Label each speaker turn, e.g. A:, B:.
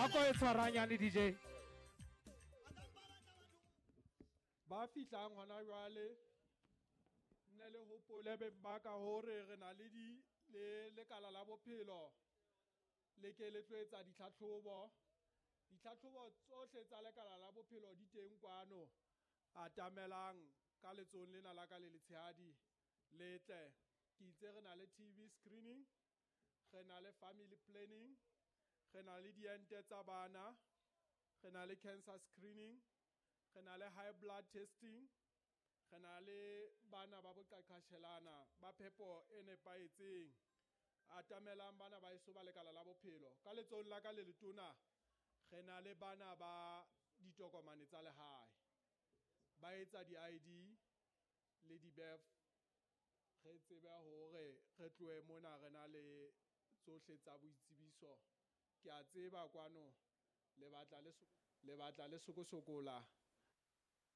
A: A ko e tshwaranyane DJ.
B: Ba fihlang hona jwale, nne le hopole beng ba ka hore re na le di le lekala la bophelo le ke le tlo etsa ditlhatlhobo. Ditlhatlhobo tsohle tsa lekala la bophelo di teng kwano. Atamelang ka letsohong lena la ka le letshehadi le tle. Ke itse re na le TB screening, re na le family planning, re na le diente tsa bana, re na le cancer screening, re na le high blood testing, re na le bana ba boqaqashelana ba phepo e nepahetseng. Atamelang bana ba eso ba lekala la bophelo. Ka letsohong la ka le letona re na le bana ba ditokomane tsa lehae, ba etsa di-ID le di-birth. Re tsebe hore re tlohe mona re na le tsohle tsa boitsebiso. Ke a tseba kwano le batla le sokosokola.